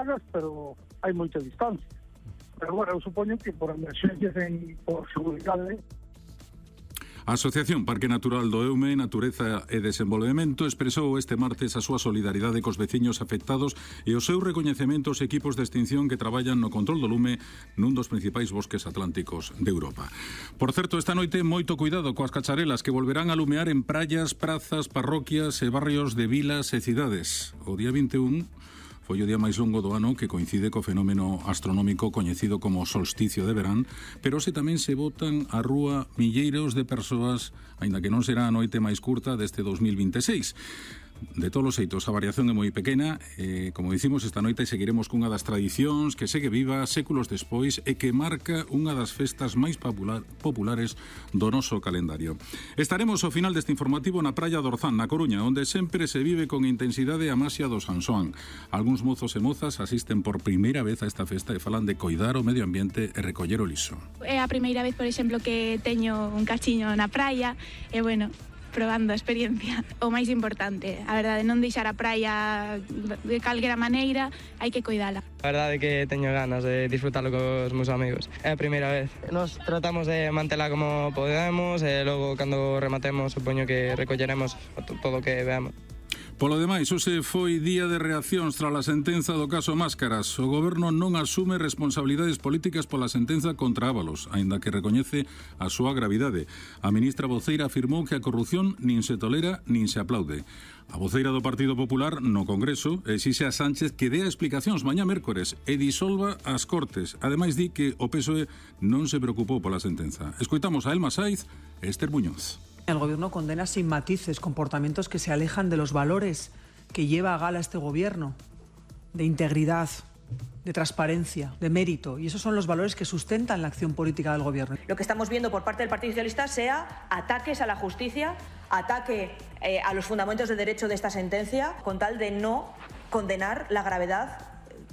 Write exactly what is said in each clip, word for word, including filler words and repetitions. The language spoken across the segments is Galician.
vagas, pero hai moita distancia. Pero, bueno, eu supoño que por emerxencias e por seguridade. A Asociación Parque Natural do Eume, Natureza e Desenvolvemento expresou este martes a súa solidaridade cos veciños afectados e o seu recoñecemento aos equipos de extinción que traballan no control do lume nun dos principais bosques atlánticos de Europa. Por certo, esta noite moito cuidado coas cacharelas que volverán a lumear en praias, prazas, parroquias e barrios de vilas e cidades. O día vinte e un foi o día máis longo do ano, que coincide co fenómeno astronómico coñecido como solsticio de verán, pero se tamén se botan á rúa milleiros de persoas, aínda que non será a noite máis curta deste dos mil vinte e seis. De todos os xeitos, a variación é moi pequena e, como dicimos, esta noite seguiremos cunha das tradicións que segue viva séculos despois e que marca unha das festas máis popular, populares do noso calendario. Estaremos ao final deste informativo na Praia do Orzán, na Coruña, onde sempre se vive con intensidade a maxia do San Xoán. Algúns mozos e mozas asisten por primeira vez a esta festa e falan de coidar o medio ambiente e recoller o lixo. É a primeira vez, por exemplo, que teño un cachiño na praia e, bueno, probando a experiencia. O máis importante, a verdade, non deixar a praia de calquera maneira, hai que coidala. A verdade é que teño ganas de disfrutalo cos meus amigos. É a primeira vez. Nos tratamos de mantela como podemos e logo, cando rematemos, supoño que recolleremos todo o que veamos. Polo demais, hoxe foi día de reaccións tras a sentenza do caso Máscaras. O goberno non asume responsabilidades políticas pola sentenza contra Ábalos, aínda que recoñece a súa gravidade. A ministra voceira afirmou que a corrupción nin se tolera nin se aplaude. A voceira do Partido Popular no Congreso exixe a Sánchez que dea explicacións mañá mércores e disolva as Cortes. Ademais, di que o P S O E non se preocupou pola sentenza. Escoitamos a Elma Saiz e Esther Muñoz. El gobierno condena sin matices comportamientos que se alejan de los valores que lleva a gala este gobierno, de integridad, de transparencia, de mérito, y esos son los valores que sustentan la acción política del gobierno. Lo que estamos viendo por parte del Partido Socialista sea ataques a la justicia, ataque eh, a los fundamentos de derecho de esta sentencia, con tal de no condenar la gravedad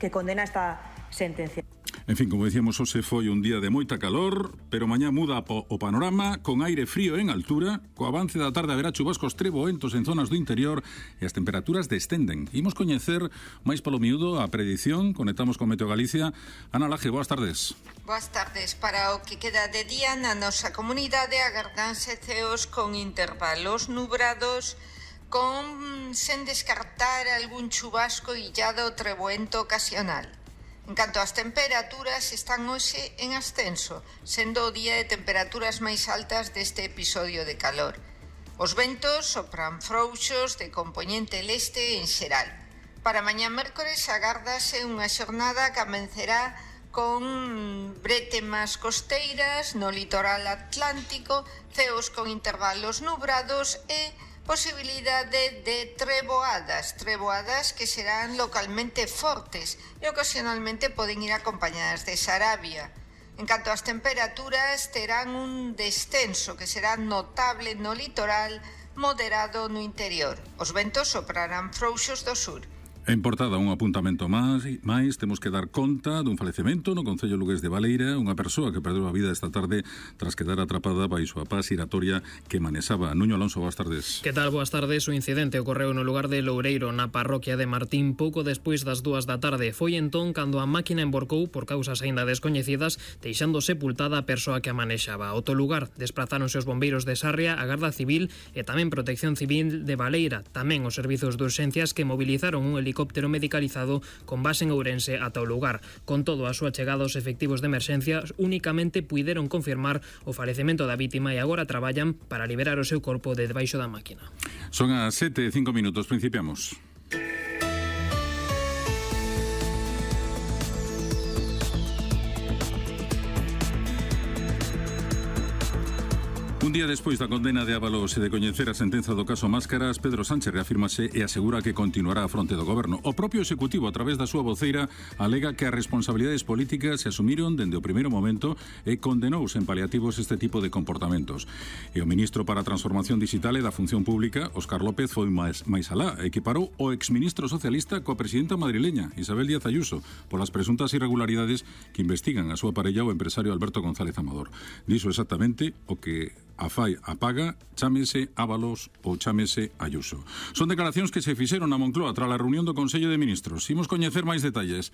que condena esta sentencia. En fin, como decíamos, hoxe foi un día de moita calor, pero mañá muda o panorama con aire frío en altura, co avance da tarde haberá chubascos treboentos en zonas do interior e as temperaturas descenden. Imos coñecer máis polo miúdo a predición, conectamos con Meteo Galicia. Ana Laje, boas tardes. Boas tardes. Para o que queda de día na nosa comunidade agardanse ceos con intervalos nubrados, con sen descartar algún chubasco illado ou treboento ocasional. En canto ás temperaturas, están hoxe en ascenso, sendo o día de temperaturas máis altas deste episodio de calor. Os ventos sopran frouxos de compoñente leste en xeral. Para mañá mércores agárdase unha xornada que amencerá con bretemas costeiras no litoral atlántico, ceos con intervalos nubrados e posibilidade de treboadas, treboadas que serán localmente fortes e ocasionalmente poden ir acompañadas de sarabia. En canto ás temperaturas, terán un descenso que será notable no litoral, moderado no interior. Os ventos soprarán frouxos do sur. En portada, un apuntamento máis, máis temos que dar conta dun falecemento no concello lugués de Baleira, unha persoa que perdeu a vida esta tarde tras quedar atrapada baixo a paz giratoria que manexaba. Nuño Alonso, boas tardes. Que tal, boas tardes? O incidente ocorreu no lugar de Loureiro, na parroquia de Martín, pouco despois das dúas da tarde. Foi entón cando a máquina emborcou por causas aínda descoñecidas, deixando sepultada a persoa que a manexaba. Ao lugar desprazáronse os bombeiros de Sarria, a Garda Civil e tamén Protección Civil de Baleira, tamén os servizos de urxencias que movilizaron un helicóptero helicóptero medicalizado con base en Ourense ata o lugar. Con todo, a súa chegada aos efectivos de emerxencia únicamente puideron confirmar o falecemento da vítima e agora traballan para liberar o seu corpo de debaixo da máquina. Son as sete e cinco minutos, principiamos. Un día despois da condena de Ábalos e de coñecer a sentenza do caso Máscaras, Pedro Sánchez reafírmase e asegura que continuará a fronte do goberno. O propio Executivo, a través da súa voceira, alega que as responsabilidades políticas se asumiron dende o primeiro momento e condenou sen paliativos este tipo de comportamentos. E o ministro para a Transformación Digital e da Función Pública, Óscar López, foi máis, máis alá, equiparou o exministro socialista coa presidenta madrileña, Isabel Díaz Ayuso, polas presuntas irregularidades que investigan a súa parella o empresario Alberto González Amador. Diso exactamente o que a fai apaga, chámese Ábalos ou chámese Ayuso. Son declaracións que se fixeron na Moncloa tras a reunión do Consello de Ministros. Imos coñecer máis detalles